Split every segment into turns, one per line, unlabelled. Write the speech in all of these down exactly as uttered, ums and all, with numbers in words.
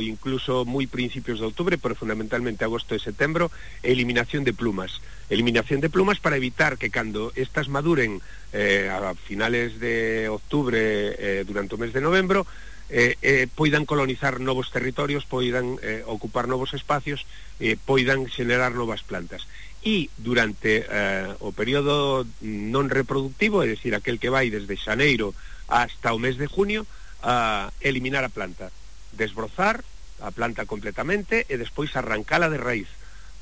incluso muy principios de octubre, pero fundamentalmente agosto y septiembre, eliminación de plumas. Eliminación de plumas para evitar que cuando estas maduren eh, a finales de octubre, eh, durante el mes de noviembre, eh, eh, puedan colonizar nuevos territorios, puedan eh, ocupar nuevos espacios, eh, puedan generar nuevas plantas. Y durante eh, o periodo non reproductivo, es decir, aquel que vai desde xaneiro hasta o mes de junio, a eliminar a planta, desbrozar a planta completamente e despois arrancala de raíz,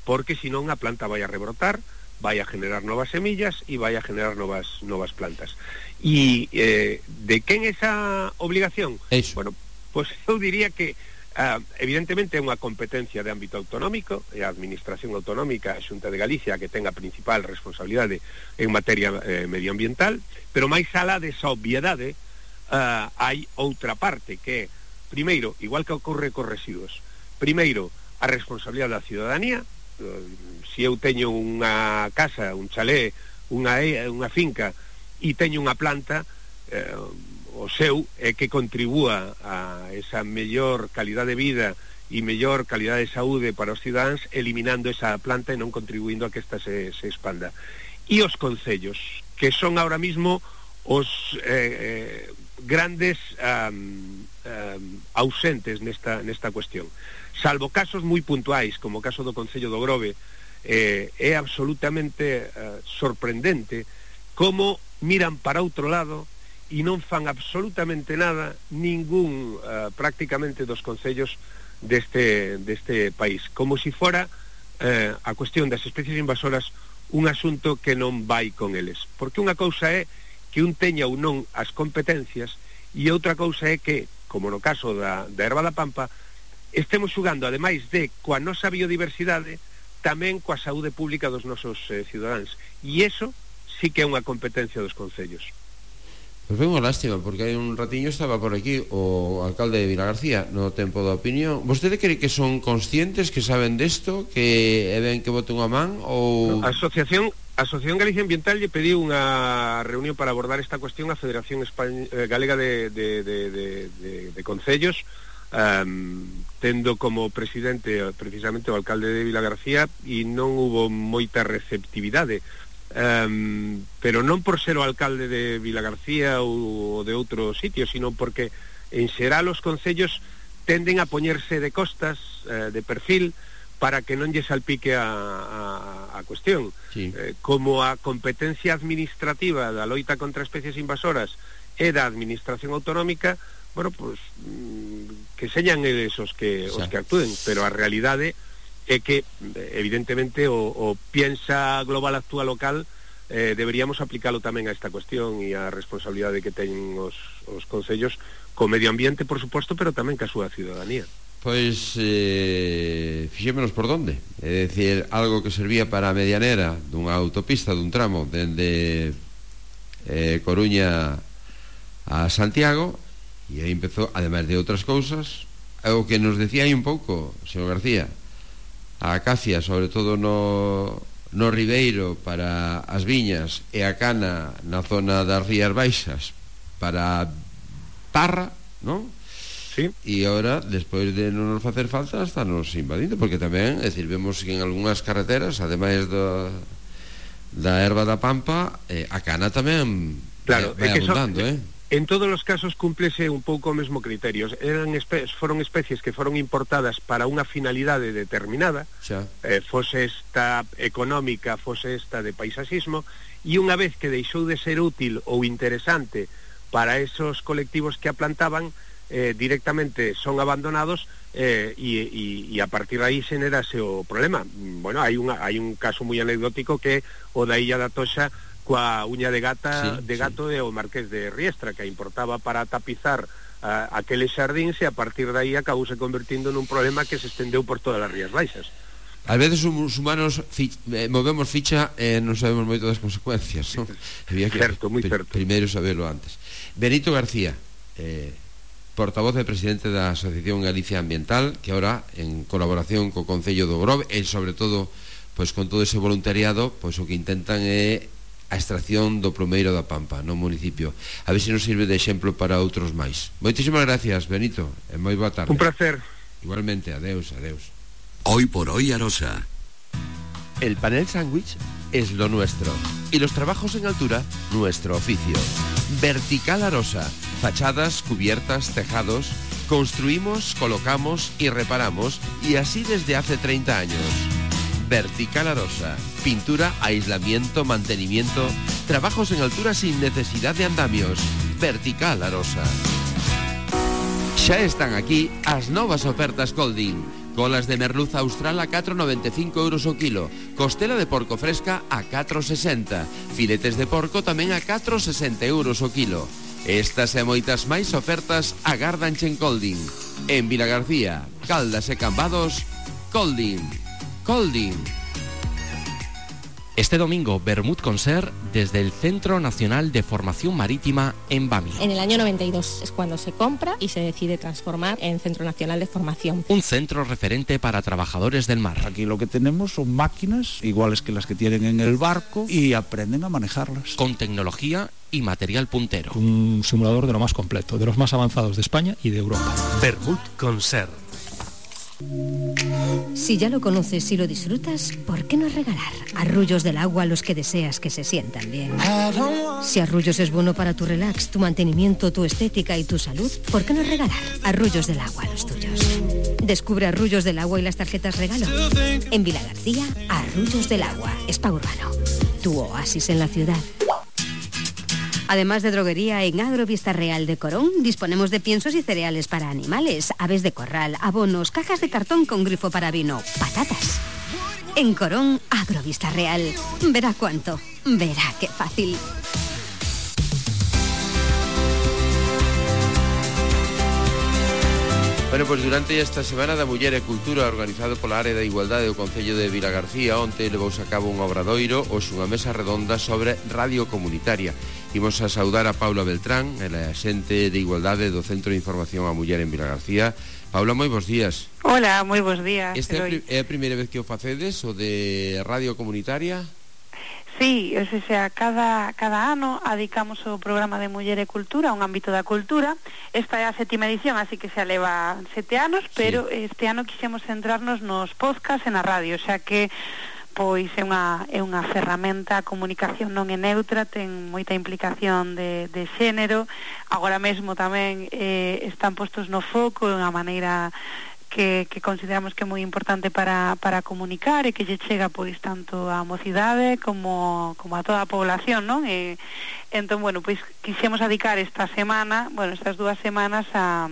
porque senón a planta vai a rebrotar, vai a generar novas semillas e vai a generar novas novas plantas. E eh, de quen esa obligación?
Eso.
Bueno, pois pues eu diría que uh, evidentemente é unha competencia de ámbito autonómico, e a Administración Autonómica, a Xunta de Galicia, que ten a principal responsabilidade en materia eh, medioambiental, pero máis alá desa obviedade, uh, hai outra parte que é, primeiro, igual que ocorre cos residuos, primeiro, a responsabilidade da ciudadanía. Se eu teño unha casa, un chalé, unha, unha finca e teño unha planta, eh, o seu é que contribúa a esa mellor calidade de vida e mellor calidade de saúde para os cidadáns, eliminando esa planta e non contribuindo a que esta se, se expanda. E os concellos, que son ahora mismo os eh, eh, grandes um, um, ausentes nesta, nesta cuestión. Salvo casos moi puntuais, como o caso do Concello do Grove, eh, é absolutamente uh, sorprendente como miran para outro lado e non fan absolutamente nada ningún, uh, prácticamente, dos concellos deste, deste país, como si fora uh, a cuestión das especies invasoras un asunto que non vai con eles, porque unha cousa é que un teña ou non as competencias e outra cousa é que, como no caso da, da erva da pampa, estemos xugando, ademais de coa nosa biodiversidade, tamén coa saúde pública dos nosos eh, cidadáns, e iso sí que é unha competencia dos concellos.
Pois foi unha lástima, porque hai un ratiño estaba por aquí o alcalde de Vilagarcía no tempo da opinión. Vostede cree que son conscientes, que saben desto, que é ben que bote unha man, ou...
A Asociación A Asociación Galicia Ambiental lle pediu unha reunión para abordar esta cuestión a Federación Españ... Galega de, de, de, de, de, de Concellos, um, tendo como presidente precisamente o alcalde de Vilagarcía, e non hubo moita receptividade, um, pero non por ser o alcalde de Vilagarcía ou de outro sitio, sino porque en xeral os concellos tenden a poñerse de costas, uh, de perfil, para que non lle salpique a, a, a cuestión.
Sí.
Eh, como a competencia administrativa da loita contra especies invasoras é da Administración Autonómica, bueno, pues, mm, que señan eles os que, os que actúen, pero a realidade é que, evidentemente, o, o piensa global actual local, eh, deberíamos aplicalo tamén a esta cuestión e a responsabilidade que teñen os, os concellos co medio ambiente, por suposto, pero tamén ca súa ciudadanía.
Pois eh, fixémonos por donde. É dicir, algo que servía para a medianera dunha autopista, dun tramo dende eh, Coruña a Santiago, e aí empezou, ademais de outras cousas, o que nos decía aí un pouco, señor García, a acacia, sobre todo no, no Ribeiro para as viñas, e a cana na zona das Rías Baixas para Parra, non?
Sí.
E agora, despois de non nos facer falta, está nos invadindo, porque tamén, é dicir, vemos que en algunhas carreteras, ademais do, da erva da pampa, eh, a cana tamén
claro,
vai
é que
abundando,
son,
eh?
En todos os casos cúmplese un pouco o mesmo criterio. Eran espe foron especies que foron importadas para unha finalidade determinada,
xa.
Eh, fose esta económica, fose esta de paisasismo, e unha vez que deixou de ser útil ou interesante para esos colectivos que a plantaban, Eh, directamente son abandonados eh, e, e, e a partir de aí xenerase o problema. Bueno, hai, unha, hai un caso moi anecdótico que é o da Illa da Toxa coa uña de gata
sí,
de gato sí. E o Marqués de Riestra, que a importaba para tapizar uh, aqueles xardíns, e a partir de aí acabou se convertindo nun problema que se estendeu por todas as Rías Baixas.
Ás veces os humanos fi, eh, movemos ficha e eh, non sabemos moito das consecuencias, non? Había que
certo, moi
pr
certo.
Primeiro saberlo antes. Benito García, eh, portavoz e presidente da Asociación Galicia Ambiental, que ahora, en colaboración co Concello do Grove, e sobre todo, pois con todo ese voluntariado, pois o que intentan é a extracción do plumeiro da Pampa no municipio. A ver se nos sirve de exemplo para outros máis. Moitísimas gracias, Benito, e moi boa tarde.
Un placer.
Igualmente, adeus, adeus.
Hoy por hoy Arosa.
El panel sándwich es lo nuestro y los trabajos en altura, nuestro oficio. Vertical Arosa, fachadas, cubiertas, tejados. Construimos, colocamos y reparamos, y así desde hace treinta años. Vertical Arosa, pintura, aislamiento, mantenimiento, trabajos en altura sin necesidad de andamios. Vertical Arosa. Xa están aquí as novas ofertas Colding. Colas de merluza austral a catro noventa e cinco euros o kilo. Costela de porco fresca a catro sesenta. Filetes de porco tamén a catro sesenta euros o kilo. Estas e moitas máis ofertas agardanche en Colding. En Vilagarcía, Caldas e Cambados, Colding. Colding.
Este domingo, Bermud Concert desde el Centro Nacional de Formación Marítima en Bami.
En el año noventa y dos es cuando se compra y se decide transformar en Centro Nacional de Formación.
Un centro referente para trabajadores del mar.
Aquí lo que tenemos son máquinas iguales que las que tienen en el barco y aprenden a manejarlas.
Con tecnología y material puntero.
Un simulador de lo más completo, de los más avanzados de España y de Europa.
Bermud Concert.
Si ya lo conoces y lo disfrutas, ¿por qué no regalar arrullos del agua a los que deseas que se sientan bien? Si Arrullos es bueno para tu relax, tu mantenimiento, tu estética y tu salud, ¿por qué no regalar arrullos del agua a los tuyos? Descubre Arrullos del Agua y las tarjetas regalo. En Vilagarcía, Arrullos del Agua, Spa Urbano, tu oasis en la ciudad. Además de droguería, en Agrovista Real de Corón disponemos de piensos y cereales para animales, aves de corral, abonos, cajas de cartón con grifo para vino, patatas. En Corón, Agrovista Real. Verá cuánto, verá qué fácil.
Bueno, pois durante esta Semana da Muller e Cultura, organizado pola Área da Igualdade do Concello de Vilagarcía, onte levouse a cabo un obradoiro, hoxe unha mesa redonda sobre radio comunitaria. Imos a saudar a Paula Beltrán, ela é xente de Igualdade do Centro de Información á Muller en Vilagarcía. Paula, moi bons días.
Hola, moi bons días.
Esta é, é a primeira vez que o facedes, o de radio comunitaria?
Sí, o sea, cada, cada ano adicamos o programa de Muller e Cultura a un ámbito da cultura. Esta é a sétima edición, así que xa leva sete anos, pero sí, este ano quixemos centrarnos nos podcast e na radio, xa que pois é unha, é unha ferramenta, a comunicación non é neutra, ten moita implicación de, de xénero. Agora mesmo tamén eh, están postos no foco de unha maneira que, que consideramos que é moi importante para, para comunicar e que lle chega pois tanto á mocidade como, como a toda a población, non? E, entón, bueno, pois quixemos dedicar esta semana, bueno, estas dúas semanas a,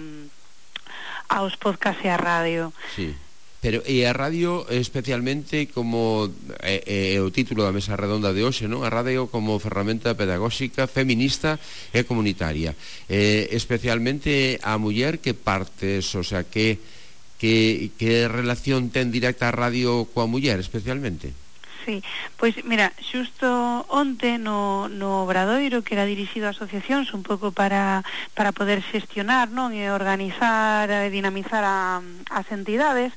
aos podcast e a radio.
Sí. Pero e a radio especialmente como é, é o título da mesa redonda de hoxe, non? A radio como ferramenta pedagóxica, feminista e comunitaria. Eh, especialmente a muller que partes, o sea, que Que, que relación ten directa a radio coa muller, especialmente?
Sí, pois mira, xusto onte no, no obradoiro que era dirixido a asociacións un pouco para, para poder xestionar, non, e organizar e dinamizar a, as entidades,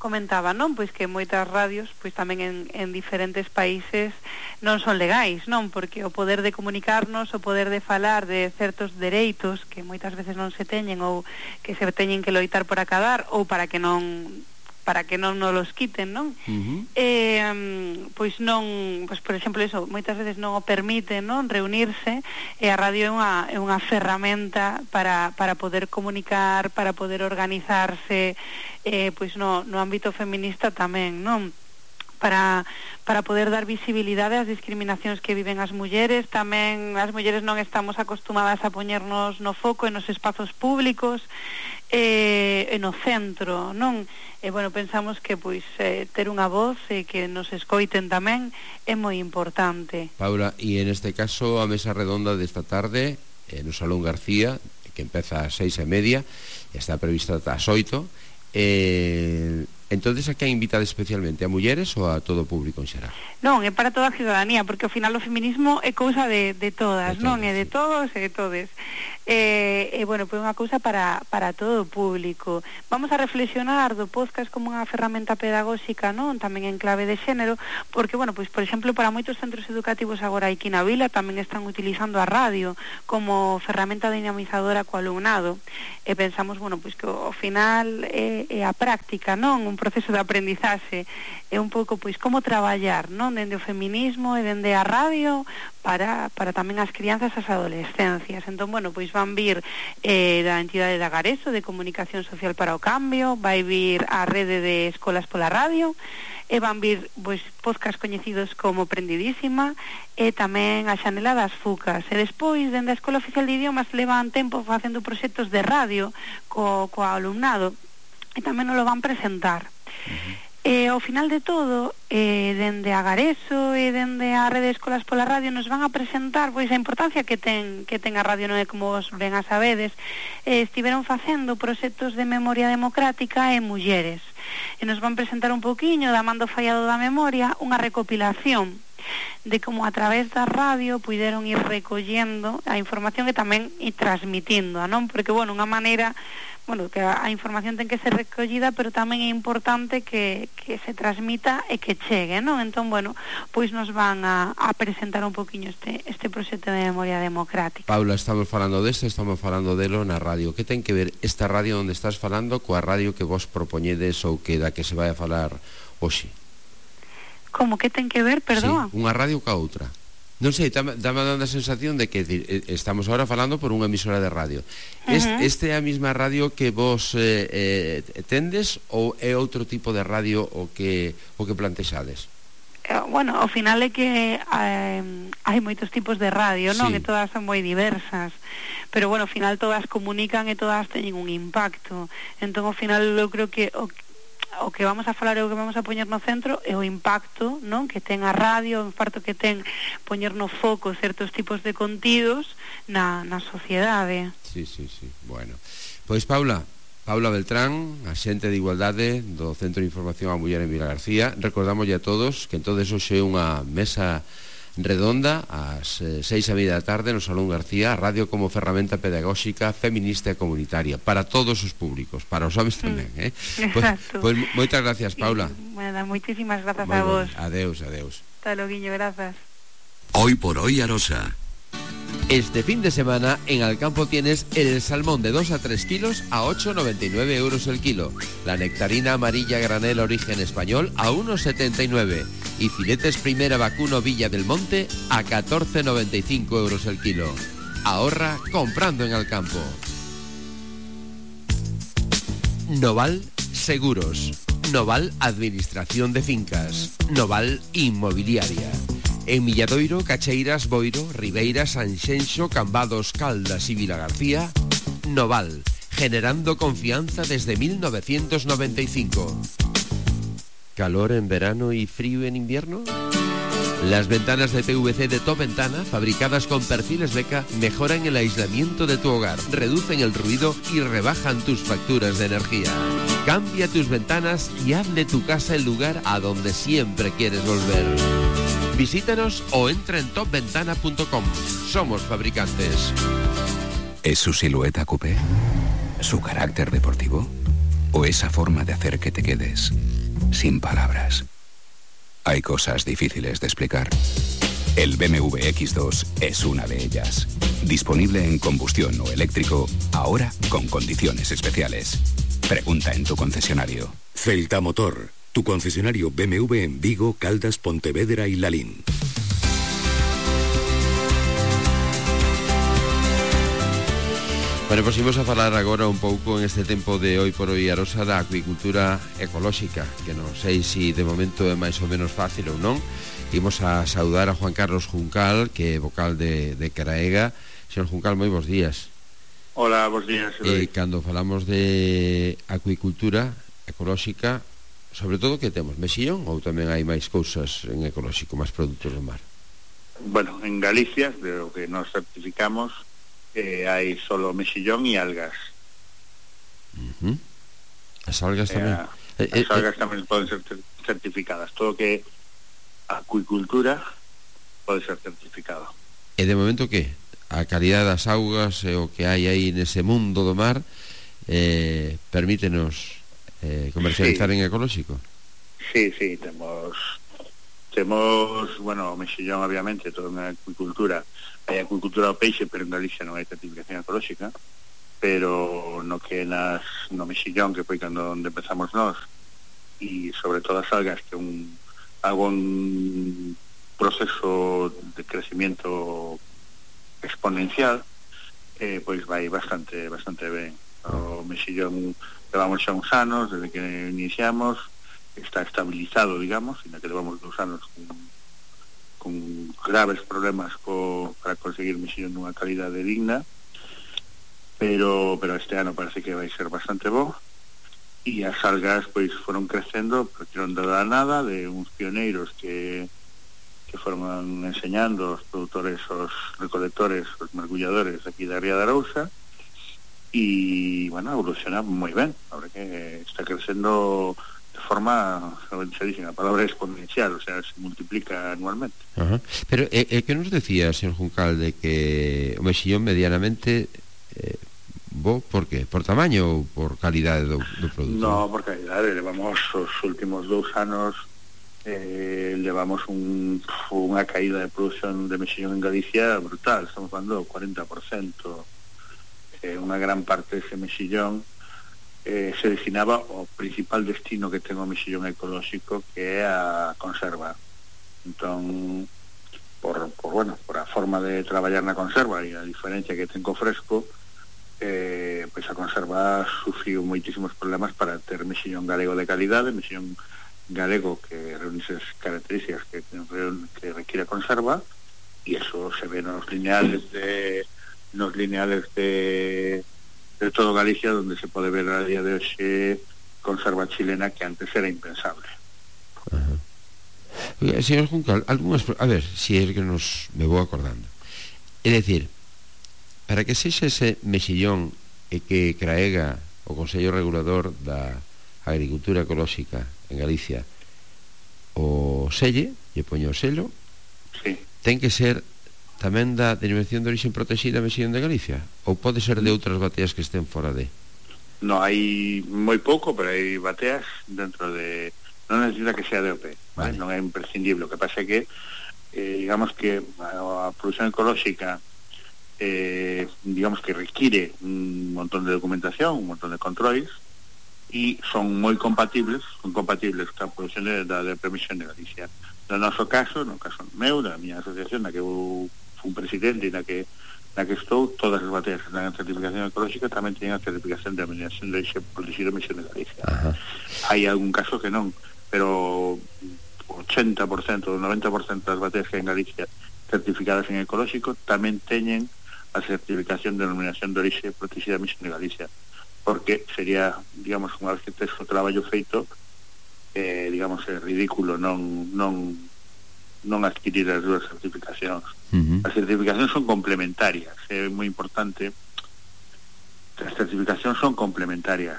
comentaba, non, pois que moitas radios pois tamén en, en diferentes países non son legais, non, porque o poder de comunicarnos, o poder de falar de certos dereitos que moitas veces non se teñen ou que se teñen que loitar por acadar ou para que non para que non nos los quiten, non? Uh-huh. Eh, pois non, pois por exemplo eso, moitas veces non o permite, non, reunirse, e a radio é unha, é unha ferramenta para, para poder comunicar, para poder organizarse, eh, pois no, no ámbito feminista tamén, non? Para, para poder dar visibilidade ás discriminacións que viven as mulleres. Tamén as mulleres non estamos acostumadas a poñernos no foco e nos espazos públicos, eh, e no centro, non? E, bueno, pensamos que pois eh, ter unha voz e que nos escoiten tamén é moi importante.
Paula, e en este caso a mesa redonda desta tarde eh, no Salón García, que empeza ás seis e media, está prevista ás oito, eh, Entonces, a quen invitade especialmente? A mulleres ou a todo o público en xeral?
Non, é para toda a ciudadanía, porque ao final o feminismo é cousa de, de todas, de non? É de todos e de todes. E, e bueno, pois unha cousa para, para todo o público. Vamos a reflexionar do podcast como unha ferramenta pedagóxica, non? Tamén en clave de xénero, porque, bueno, pois, por exemplo, para moitos centros educativos agora aquí na vila tamén están utilizando a radio como ferramenta dinamizadora co alumnado. E pensamos, bueno, pois que ao final é, é a práctica, non? Un proceso de aprendizaxe, é un pouco, pois, como traballar, non? Dende o feminismo e dende a radio para, para tamén as crianzas e as adolescencias. Entón, bueno, pois van vir eh, da entidade de Agareso, de Comunicación Social para o Cambio, vai vir a rede de escolas pola radio, e van vir pois, podcast coñecidos como Prendidísima e tamén a Xanela das Fucas. E despois, dende a Escola Oficial de Idiomas, levan tempo facendo proxectos de radio co, co alumnado e tamén nos lo van presentar. Uh-huh. E ao final de todo, eh, dende Agareso e dende a rede de escolas pola radio nos van a presentar pois a importancia que ten que ten a radio, non é como vos ben a sabedes. Eh, estiveron facendo proxectos de memoria democrática e mulleres. E nos van presentar un poquinho da Mando Fallado da Memoria unha recopilación de como a través da radio puideron ir recollendo a información e tamén ir transmitindo, non? Porque, bueno, unha maneira, bueno, que a, a información ten que ser recollida, pero tamén é importante que, que se transmita e que chegue, non? Entón, bueno, pois nos van a, a presentar un poquinho este, este proxecto de memoria democrática.
Paula, estamos falando deste, estamos falando delo na radio. Que ten que ver esta radio onde estás falando coa radio que vos propoñedes ou que da que se vai a falar hoxe?
Como que ten que ver, perdón?
Sí, unha radio ca outra. Non sei, dame dando a sensación de que estamos ahora falando por unha emisora de radio. Uh-huh. Este, este é a mesma radio que vos eh, eh, tendes ou é outro tipo de radio o que o que plantexades?
Eh, bueno, ao final é que eh, hai moitos tipos de radio, non? Sí. E todas son moi diversas. Pero, bueno, ao final todas comunican e todas teñen un impacto. Entón, ao final, eu creo que o o que vamos a falar e o que vamos a poñer no centro é o impacto, non? Que ten a radio, o impacto que ten poñer no foco certos tipos de contidos na, na sociedade.
Sí, sí, sí, bueno. Pois Paula, Paula Beltrán, axente de Igualdade do Centro de Información á Muller en Vilagarcía. Recordamoslle a todos que entonces hoxe é unha mesa redonda ás eh, seis e media da tarde no Salón García, a radio como ferramenta pedagóxica feminista e comunitaria para todos os públicos, para os homes tamén, eh? Pois pues, pues, moitas gracias, Paula.
Bueno, moitísimas grazas a vos.
Adeus, adeus.
Hasta loguiño, grazas.
Hoy por hoy, Arosa.
Este fin de semana en Alcampo tienes el salmón de dos a tres kilos a ocho noventa y nueve euros el kilo, la nectarina amarilla granel origen español a uno setenta y nueve y filetes primera vacuno Villa del Monte a catorce noventa y cinco euros el kilo. Ahorra comprando en Alcampo. Noval Seguros, Noval Administración de Fincas, Noval Inmobiliaria. En Milladoiro, Cacheiras, Boiro, Ribeira, Sanxenxo, Cambados, Caldas y Vilagarcía, Noval, generando confianza desde mil novecientos noventa y cinco. ¿Calor en verano y frío en invierno? Las ventanas de P V C de Top Ventana, fabricadas con perfiles Beca, mejoran el aislamiento de tu hogar, reducen el ruido y rebajan tus facturas de energía. Cambia tus ventanas y haz de tu casa el lugar a donde siempre quieres volver. Visítanos o entra en top ventana punto com. Somos fabricantes.
¿Es su silueta coupé? ¿Su carácter deportivo? ¿O esa forma de hacer que te quedes sin palabras? Hay cosas difíciles de explicar. El B M W X dos es una de ellas. Disponible en combustión o eléctrico, ahora con condiciones especiales. Pregunta en tu concesionario.
Celta Motor, tu concesionario B M W en Vigo, Caldas, Pontevedra y Lalín.
Bueno, pues imos a falar agora un pouco en este tempo de Hoy por Hoy Arosa da acuicultura ecolóxica, que non sei se de momento é máis ou menos fácil ou non. Imos a saudar a Juan Carlos Juncal, que é vocal de, de Caraega. Señor Juncal, moi bons días.
Hola, bons días.
E eh, cando falamos de acuicultura ecolóxica, sobre todo que temos mexillón ou tamén hai máis cousas en ecolóxico, máis produtos do mar?
Bueno, en Galicia, de o que nos certificamos, eh, hai solo mexillón e algas.
Uh-huh. As algas tamén.
Eh, As algas tamén poden ser certificadas. Todo que acuicultura pode ser certificado.
E de momento que? A calidad das augas e o que hai aí nese mundo do mar eh, permítenos eh, comercializar sí. en ecolóxico?
Sí, sí, temos temos, bueno, o mexillón obviamente, todo na acuicultura, hai acuicultura ao peixe, pero en Galicia non hai certificación ecolóxica, pero no que nas, no mexillón, que foi cando onde empezamos nós, e sobre todo as algas, que un algo un proceso de crecimiento exponencial, eh, pois vai bastante bastante ben. O mexillón levamos xa uns anos desde que iniciamos, está estabilizado, digamos, en la que levamos dos anos con, con graves problemas co, para conseguir mexillón dunha calidade digna, pero pero este ano parece que vai ser bastante bo, e as algas pois foron crecendo, partieron de la nada, de uns pioneiros que que foron enseñando os produtores, os recolectores, os mergulladores aquí da Ría de Arousa, e, bueno, evoluciona moi ben, ahora que está crecendo de forma, se dice, a palabra exponencial, o sea, se multiplica anualmente.
Ajá. Pero, eh, eh, que nos decía, señor Juncal, de que o mexillón medianamente eh, bo, por que? Por tamaño ou por calidade do, do produto?
No, por calidade, levamos os últimos dous anos eh, levamos un, unha caída de produción de mexillón en Galicia brutal, estamos falando do cuarenta por ciento, eh, unha gran parte dese mexillón Eh, se destinaba ao principal destino que ten o mexillón ecolóxico, que é a conserva. Entón, por, por, bueno, por a forma de traballar na conserva e a diferencia que ten co fresco, eh, pois a conserva sufriu moitísimos problemas para ter mexillón galego de calidade, mexillón galego que reúne esas características que, que requiere a conserva, e eso se ve nos lineales de nos lineales de de todo Galicia, donde se pode ver a día de hoxe conserva chilena que antes era impensable.
Ajá. Oiga, señor Juncal, algunhas, a ver, si é que nos me vou acordando. É dicir, para que sexa ese mexillón e que craega o Consello Regulador da Agricultura Ecolóxica en Galicia o selle, lle poño o selo,
sí.
Ten que ser tamén da denominación de origen protexida mexillón de Galicia? Ou pode ser de outras bateas que estén fora de?
No, hai moi pouco, pero hai bateas dentro de... Non necesita que sea de O P, vale. Non é imprescindible. O que pasa é que, eh, digamos que a, a produción ecolóxica, eh, digamos que require un montón de documentación, un montón de controles, e son moi compatibles, son compatibles con a produción de, da de permisión de Galicia. No noso caso, no caso meu, da miña asociación, na que eu fui presidente e na que na que estou, todas as bateas que dan a certificación ecolóxica tamén teñen a certificación de denominación de origen protegido mexillón de Galicia. Ajá. Hai algún caso que non, pero ochenta por ciento, noventa por ciento das bateas que hai en Galicia certificadas en ecolóxico tamén teñen a certificación de denominación de origen protegida mexillón de Galicia, porque sería, digamos, unha vez que tes o traballo feito, eh, digamos, é ridículo non non non adquirir as dúas certificacións. Uh-huh. As certificacións son complementarias, é moi importante. As certificacións son complementarias.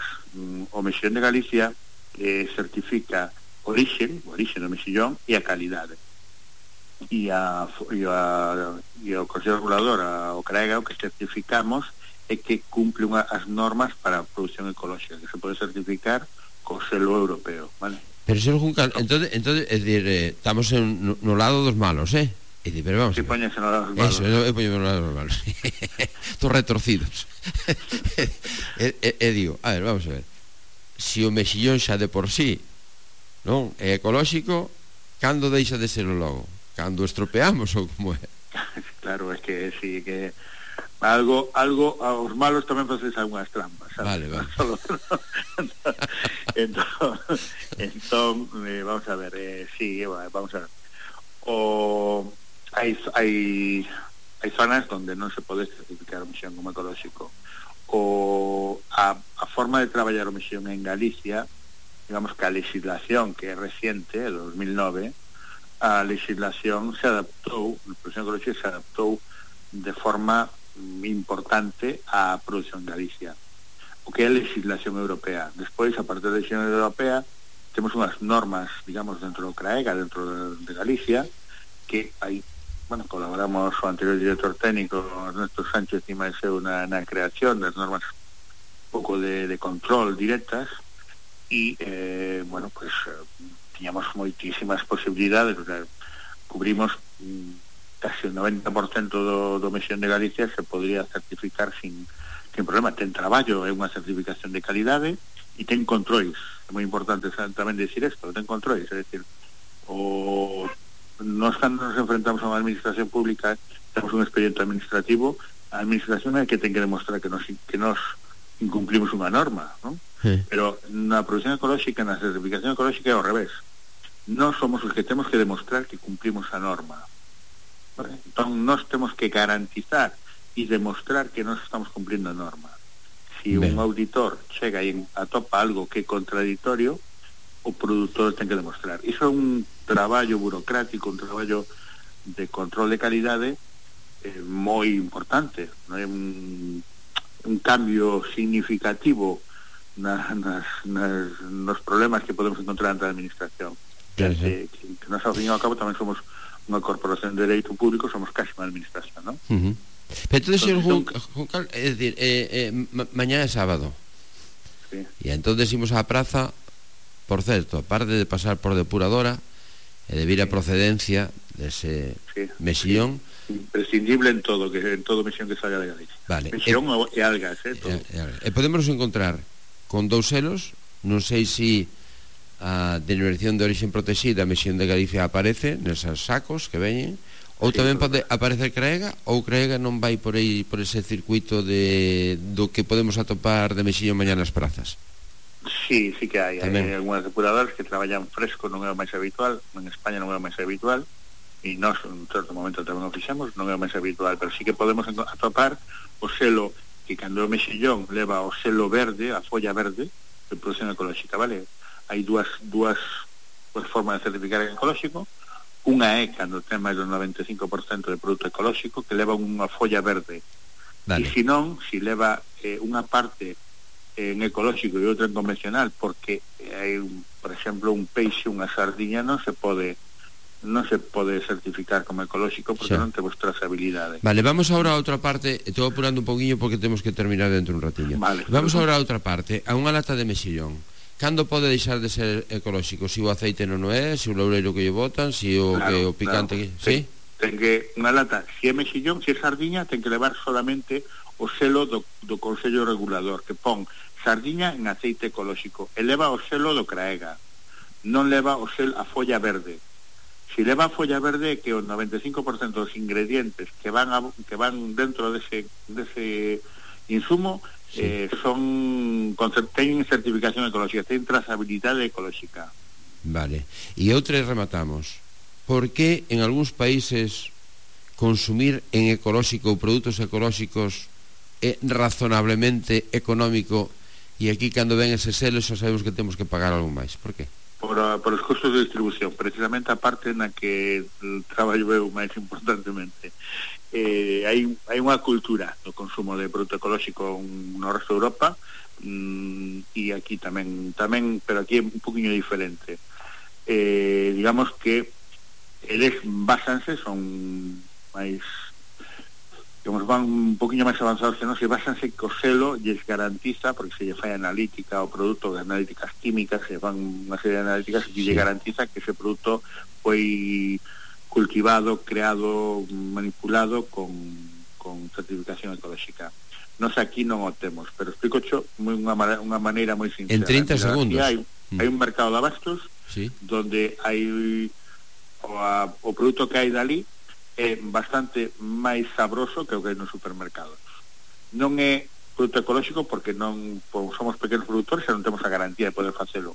O mexillón de Galicia eh, certifica origen, o origen do mexillón e a calidade. E a e a e o Consello Regulador, a, o CRAEGA, o que certificamos é que cumple unha, as normas para a produción ecolóxica, que se pode certificar co selo europeo, vale?
Pero, señor Juncal, entonces, entonces es decir, eh, estamos en, no, no lado dos malos, eh? É dicir, pero vamos
si poñese no lado dos malos.
Eso, eu poño no lado dos malos. Estos retorcidos. e, e, e digo, a ver, vamos a ver. Si o mexillón xa de por sí non é ecolóxico, cando deixa de ser o logo? Cando estropeamos ou como é?
Claro, é que si que algo algo aos malos tamén faces algunhas trampas, sabes?
Vale, vale.
Solo, entón, entón eh, vamos a ver, eh, sí, vamos a ver. O hai hai hai zonas onde non se pode certificar o mexillón como ecolóxico. O a, a forma de traballar o mexillón en Galicia, digamos que a legislación que é reciente, de dos mil nove, a legislación se adaptou, a produción ecolóxica se adaptou de forma importante á produción en Galicia. o que é a legislación europea. Despois, a partir da legislación europea, temos unhas normas, digamos, dentro do CRAEGA, dentro de, de Galicia, que hai, bueno, colaboramos o anterior director técnico, Ernesto Sánchez e máis eu na, na creación das normas un pouco de, de control directas, e, eh, bueno, pues, eh, tiñamos moitísimas posibilidades, o sea, cubrimos mm, casi o noventa por cento do, do mesión de Galicia se podría certificar sin sin problema. Ten traballo, é unha certificación de calidade e ten controis. É moi importante tamén decir isto, ten controis, é dicir, o nós cando nos enfrentamos a unha administración pública, temos un expediente administrativo, a administración é que ten que demostrar que nos, que nos incumplimos unha norma, non? Sí. Pero na produción ecolóxica, na certificación ecolóxica é ao revés. Nós somos os que temos que demostrar que cumplimos a norma. ¿Vale? Entón, nós temos que garantizar e demostrar que nós estamos cumplindo a norma. Si ben. un auditor chega e atopa algo que é contradictorio, o produtor ten que demostrar. Iso é un traballo burocrático, un traballo de control de calidade eh, moi importante, non é un, un cambio significativo na, nas, nas, nos problemas que podemos encontrar ante a administración.
Claro,
que, que, que nós, ao fin e ao cabo, tamén somos unha corporación de dereito público, somos casi unha administración, non?
Uh -huh. Pero entonces, señor Juncal, es decir, eh, eh, ma mañana é sábado,
sí.
E entonces imos á praza, por certo, aparte de pasar por depuradora e de vir a procedencia dese sí. mexillón,
sí. Imprescindible en todo, que en todo mexillón que salga de Galicia.
Vale.
Mexillón e, e algas, eh, todo.
E, e, e podemos encontrar con dous selos, non sei se a denominación de origen protexida mexillón de Galicia aparece neses sacos que veñen, ou sí, tamén pode aparecer CRAEGA, ou CRAEGA non vai por aí, por ese circuito de do que podemos atopar de mexillón mañá nas prazas.
Sí, sí que hai, tamén. Hai algunhas depuradoras que traballan fresco, non é o máis habitual, en España non é o máis habitual, e nós en certo momento tamén o fixemos, non é o máis habitual, pero sí que podemos atopar o selo que cando o mexillón leva o selo verde, a folla verde de producción ecolóxica, vale? Hai dúas, dúas, dúas formas de certificar en ecolóxico. Unha é cando ten máis do noventa e cinco por cento de produto ecolóxico que leva unha folla verde. Dale. E se non, se leva eh, unha parte en ecolóxico e outra en convencional, porque hai, por exemplo, un peixe, unha sardiña non se pode non se pode certificar como ecolóxico porque sí. non temos trazabilidade.
Vale, vamos agora a outra parte. Estou apurando un poquinho porque temos que terminar dentro un ratillo.
Vale,
vamos agora a outra parte, a unha lata de mexillón. Cando pode deixar de ser ecolóxico? Si o aceite non é, si o loureiro que lle botan, si o, claro, que, o picante claro. que... ¿Sí?
Ten que, unha lata, si é mexillón, si é sardiña, ten que levar solamente o selo do, do Consello Regulador, que pon sardiña en aceite ecolóxico, e leva o selo do CRAEGA, non leva o selo a folla verde. Si leva a folla verde, que o noventa e cinco por cento dos ingredientes que van, a, que van dentro dese, dese insumo sí. eh, son teñen certificación ecolóxica, teñen trazabilidade ecolóxica.
Vale, e outra rematamos. Por que en algúns países consumir en ecolóxico ou produtos ecolóxicos é razonablemente económico e aquí cando ven ese selo xa sabemos que temos que pagar algo máis? Por que?
Por, por os costos de distribución, precisamente a parte na que traballo eu máis importantemente. Eh, hai, hai unha cultura do consumo de produto ecolóxico no resto de Europa, mm, e aquí tamén, tamén, pero aquí é un poquinho diferente. Eh, digamos que eles basanse, son máis, digamos, van un poquinho máis avanzados que non, se basanse que o selo lles garantiza, porque se lle fai analítica o produto, de analíticas químicas, se van unha serie de analíticas que sí. lle garantiza que ese produto foi cultivado, creado, manipulado con, con certificación ecolóxica. Nos aquí non o temos, pero explico xo unha, unha maneira moi sincera.
En trinta segundos.
Hai, mm. hai un mercado de abastos
sí.
donde hai o, a, o produto que hai dali é bastante máis sabroso que o que hai nos supermercados. Non é produto ecolóxico porque non pues, somos pequenos produtores e non temos a garantía de poder facelo,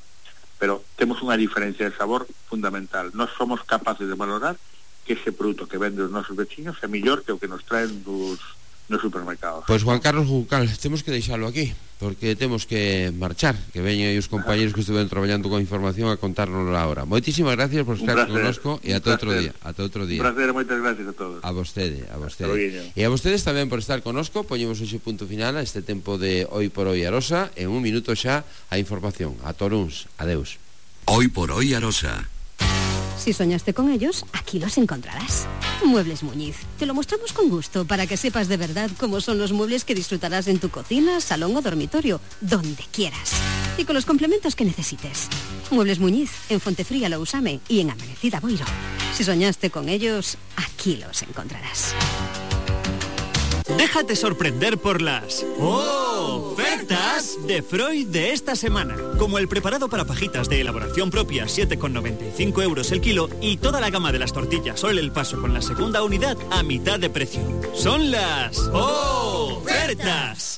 pero temos unha diferencia de sabor fundamental. Nós somos capaces de valorar que ese produto que vende os nosos veciños é mellor que o que nos traen dos, nos supermercados.
Pois Juan Carlos Juncal, temos que deixalo aquí, porque temos que marchar, que veñen aí os compañeros que estuven traballando con información a contárnoslo ahora. Moitísimas gracias por estar connosco e ata outro día, ata outro día.
Un placer, moitas gracias a todos.
A vostede, a vostede. E a vostedes tamén por estar connosco. Poñemos hoxe punto final a este tempo de Hoy por Hoy Arosa. En un minuto xa a información. A toruns, adeus.
Hoy por Hoy Arosa.
Si soñaste con ellos, aquí los encontrarás. Muebles Muñiz. Te lo mostramos con gusto para que sepas de verdad cómo son los muebles que disfrutarás en tu cocina, salón o dormitorio, donde quieras. Y con los complementos que necesites. Muebles Muñiz, en Fontefría Lousame y en Amanecida Boiro. Si soñaste con ellos, aquí los encontrarás.
Déjate sorprender por las ofertas de Freud de esta semana. Como el preparado para fajitas de elaboración propia, siete con noventa y cinco euros el kilo, y toda la gama de las tortillas Sol El Paso con la segunda unidad a mitad de precio. Son las ofertas.